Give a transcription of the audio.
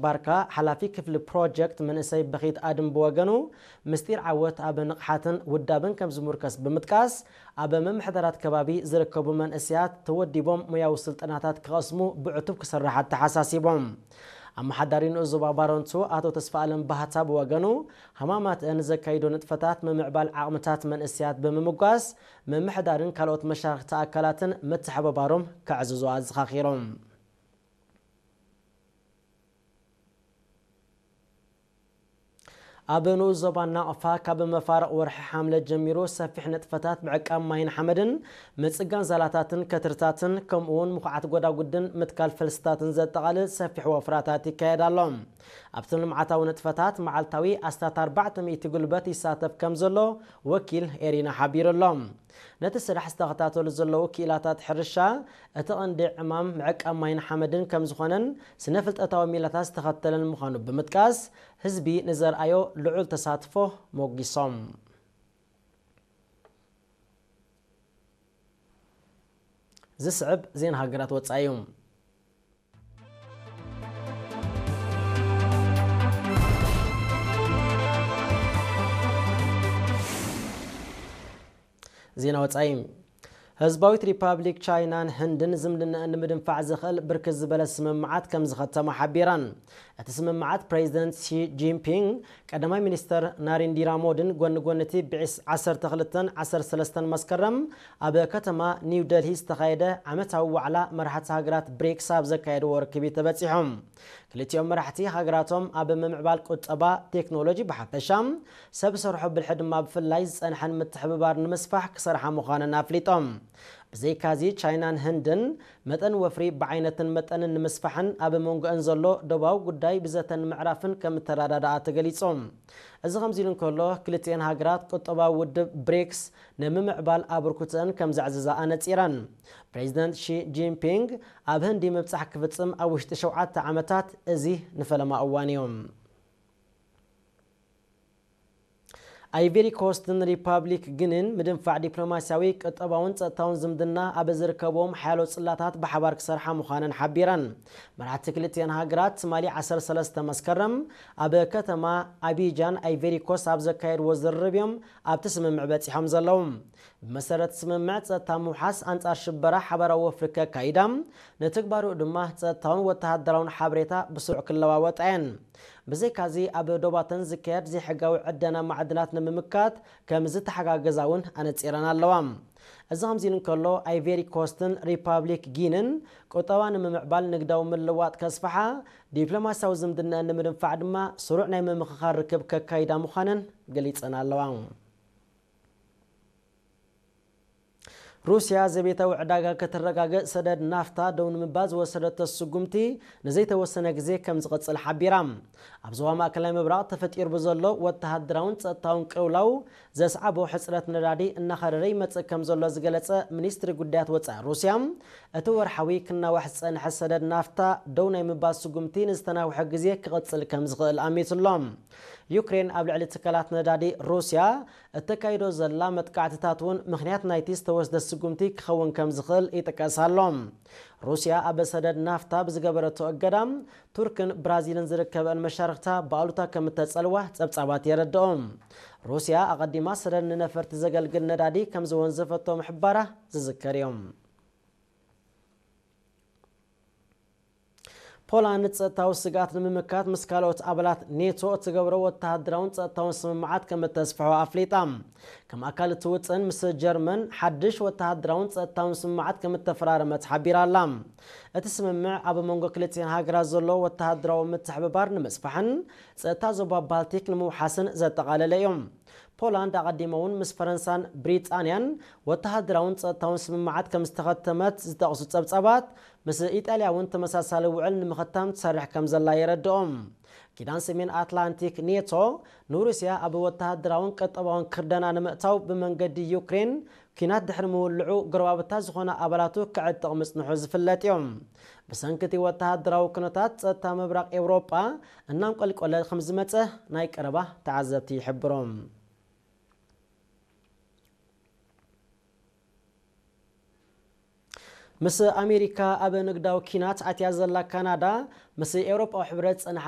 ባርካ፣ ሓላፊ ክፍሊ ፕሮጀክት መንእሰይ በኺት ኣድም ብወገኑ፣ ምስጢር ዓወት ኣብ ንቕሓትን ውዳብን ከም ዝሙርከስ ብምጥቃስ፣ ኣብ ምምሕዳራት ከባቢ ዝርከቡ መንእሰያት ተወዲቦም ሞያዊ ስልጠናታት ክቐስሙ ብዕቱብ ክሰርሕ ኣተሓሳሲቦም። ኣመሓዳሪ ንኡስ ዞባ ባረንቱ ኣቶ ተስፋኣለም ባህታ ብወገኑ፣ ሃማማትአን ዘካይዶ ንጥፈታት ምምዕባል ዓቕምታት መንእሰያት ብምምጓስ፣ ምምሕዳርን ካልኦት መሻርክቲ ኣካላትን ምትሕብባሮም ከዕዝዙ ኣዘኻኺሮም። ኣብ ንኡስ ዞባ ናቕፋ ካብ መፋርቕ ወርሒ ሓምለ ጀሚሩ ሰፊሕ ንጥፈታት ምዕቃብ ማይን ሓመድን ምጽጋን ዛላታትን ከትርታትን ከምኡውን ምኹዓት ጎዳጉድን ምትካል ፈልስታትን ዘጠቓልል ሰፊሕ ወፍራታት ይካየድ ኣሎ። ኣብቲ ልምዓታዊ ንጥፈታት መዓልታዊ ኣስታት ኣርባዕተ ሚእቲ ጉልበት ይሳተፍ ከም ዘሎ ወኪል ኤሪና ሓቢሩ ኣሎ። ነቲ ስራሕ ዝተኸታተሉ ዘለዉ ክኢላታት ሕርሻ፣ እቲ ቐንዲ ዕማም ምዕቃብ ማይን ሓመድን ከም ዝኾነን ስነ ፍልጠታዊ ሚላታት ዝተኸተለን ምዃኑ ብምጥቃስ፣ ህዝቢ ንዘርኣዮ ልዑል ተሳትፎ ሞጊሶም። ዝስዕብ ዜና ሃገራት ወጻኢ እዩ። ዜና ወጻኢ። ህዝባዊት ሪፓብሊክ ቻይናን ህንድን ዝምድናኣን ንምድንፋዕ ዝኽእል ብርክት ዝበለ ስምምዓት ከም ዝኸተማ ሓቢረን። እቲ ስምምዓት ፕሬዚደንት ሺ ጂንፒንግ፣ ቀዳማይ ሚኒስተር ናሪንዲራ ሞዲን ጎኒ ጎኒ እቲ ብዒስ-፣ ዓሰርተ ክልተን ዓሰርተ ሰለስተን መስከረም ኣብ ከተማ ኒው ደልሂ ዝተኻየደ ዓመታዊ ዋዕላ መራሕቲ ሃገራት ብሪክስ ኣብ ዘካየድዎ ርክብ እዩ ተበጺሖም። ክልቲኦም መራሕቲ ሃገራቶም ኣብ ምምዕባል ቁጠባ፣ ቴክኖሎጂ ብሓፈሻ፣ ሰብ ሰርሖ ብልሒ ድማ ብፍላይ ዝጸንሐን ምትሕብባር ንምስፋሕ ክሰርሓ ምዃነን ኣፍሊጦም። ብዘይካዚ ቻይናን ህንድን መጠን ወፍሪ ብዓይነትን መጠንን ንምስፋሕን ኣብ መንጎአን ዘሎ ዶባዊ ጉዳይ ብዘተን ምዕራፍን ከም እተረዳድኣ ተገሊጹ። እዚ ከምዚ ኢሉ እንከሎ፣ ክልቲኤን ሃገራት ቁጠባዊ ውድብ ብሪክስ ንምምዕባል ኣበርክቶአን ከም ዘዕዝዛ ኣነጺረን። ፕሬዚደንት ሺ ጂንፒንግ ኣብ ህንዲ ምብጻሕ ክፍጽም ኣብ ውሽጢ ሸውዓተ ዓመታት እዚ ንፈለማ እዋን እዩ። ኣይቬሪ ኮስትን ሪፓብሊክ ጊኒን ምድንፋዕ ዲፕሎማስያዊ፣ ቁጠባውን ጸጥታውን ዝምድና ኣብ ዝርከብዎም ሓያሎ ጽላታት ብሓባር ክሰርሓ ምዃነን ሓቢረን። መራሕቲ ክልቲኤን ሃገራት ትማሊ ዓሰርተ ሰለስተ መስከረም ኣብ ከተማ ኣቢጃን ኣይቬሪ ኮስት ኣብ ዘካየድዎ ዝርርብ እዮም ኣብቲ ስምምዕ በጺሖም ዘለዉ። ብመሰረት ስምምዕ ጸጥታ ምውሓስ፣ ኣንጻር ሽበራ ሓባራዊ ወፍሪ ከካይዳ፣ ንትግባሩ ድማ ጸጥታውን ወተሃደራውን ሓበሬታ ብስሩዕ ክለዋወጣ እየን። ብዘይካዚ ኣብ ዶባተን ዝካየድ ዘይሕጋዊ ዕደና ማዕድናት ንምምካት ከም ዝተሓጋገዛ እውን ኣነጺረን ኣለዋ። እዚ ከምዚ ኢሉ እንከሎ፣ ኣይቬሪ ኮስትን ሪፓብሊክ ጊንን ቁጠባ ንምምዕባል፣ ንግዳዊ ምልዋጥ ከስፍሓ፣ ዲፕሎማስያዊ ዝምድናኣን ንምድንፋዕ ድማ ስሩዕ ናይ ምምኽኻር ርክብ ከካይዳ ምዃነን ገሊጸን ኣለዋ። ሩስያ ዘቤታዊ ዕዳጋ ከተረጋግእ ሰደድ ናፍታ ደው ንምባል ዝወሰደቶ ስጉምቲ ንዘይተወሰነ ግዜ ከም ዝቕጽል ሓቢራ። ኣብ ዞባ ማእከላይ ምብራቕ ተፈጢሩ ብዘሎ ወተሃደራውን ጸጥታውን ቅልውላው ዘስዓቦ ሕጽረት ነዳዲ እናኸረረ ይመጽእ ከም ዘሎ ዝገለጸ ሚኒስትሪ ጉዳያት ወጻኢ ሩስያ፣ እቲ ወርሓዊ ክናዋሕ ዝጸንሐ ሰደድ ናፍታ ደው ናይ ምባል ስጉምቲ ንዝተናውሐ ግዜ ክቕጽል ከም ዝኽእል ኣሚቱ ኣሎ። ዩክሬን ኣብ ልዕሊ ትካላት ነዳዲ ሩስያ እተካይዶ ዘላ መጥቃዕትታት እውን ምኽንያት ናይቲ ዝተወስደ ስጉምቲ ክኸውን ከም ዝኽእል ይጥቀስ ኣሎ። ሩስያ ኣብ ሰደድ ናፍታ ብዝገበረቶ እገዳ፣ ቱርክን ብራዚልን ዝርከበን መሻርኽታ ብኣሉታ ከም እተጸልዋ ጸብጻባት የረድኦ። ሩስያ ኣቐዲማ ሰደድ ንነፈርቲ ዘገልግል ነዳዲ ከም ዝወንዘፈቶ ምሕባራ ዝዝከር እዩ። ፖላንድ ጸጥታዊ ስግኣት ንምምካት ምስ ካልኦት ኣባላት ኔቶ እትገብሮ ወተሃደራውን ጸጥታውን ስምምዓት ከም እተስፍሖ ኣፍሊጣ። ከም ኣካል እቲ ውጥን፣ ምስ ጀርመን ሓድሽ ወተሃደራውን ጸጥታውን ስምምዓት ከም እተፈራረመት ሓቢራ ኣላ። እቲ ስምምዕ ኣብ መንጎ ክልቲኤን ሃገራት ዘሎ ወተሃደራዊ ምትሕብባር ንምስፋሕን ጸጥታ ዞባ ባልቲክ ንምውሓስን ዘጠቓለለ እዩ። ፖላንድ ኣቐዲማ እውን ምስ ፈረንሳን ብሪጣንያን ወተሃደራውን ጸጥታውን ስምምዓት ከም ዝተኸተመት ዝጠቕሱ ጸብጻባት፣ ምስ ኢጣልያ እውን ተመሳሳሊ ውዕል ንምኽታም ትሰርሕ ከም ዘላ የረድኦም። ኪዳን ሰሜን ኣትላንቲክ ኔቶ ንሩስያ ኣብ ወተሃደራውን ቀጠባውን ክርደና ንምእታው ብመንገዲ ዩክሬን ኲናት ድሕሪ ምውልዑ ጎረባብታ ዝኾና ኣባላቱ ክዕጥቕ ምጽንሑ ዝፍለጥ እዩ። ብሰንኪ እቲ ወተሃደራዊ ኩነታት ጸጥታ ምብራቕ ኤውሮጳ እናንቆልቆለ ከም ዝመጸ ናይ ቀረባ ተዓዘብቲ ይሕብሩ። ምስ ኣሜሪካ ኣብ ንግዳዊ ኪናት ኣትያ ዘላ ካናዳ፣ ምስ ኤውሮጳዊ ሕብረት ዝጸንሓ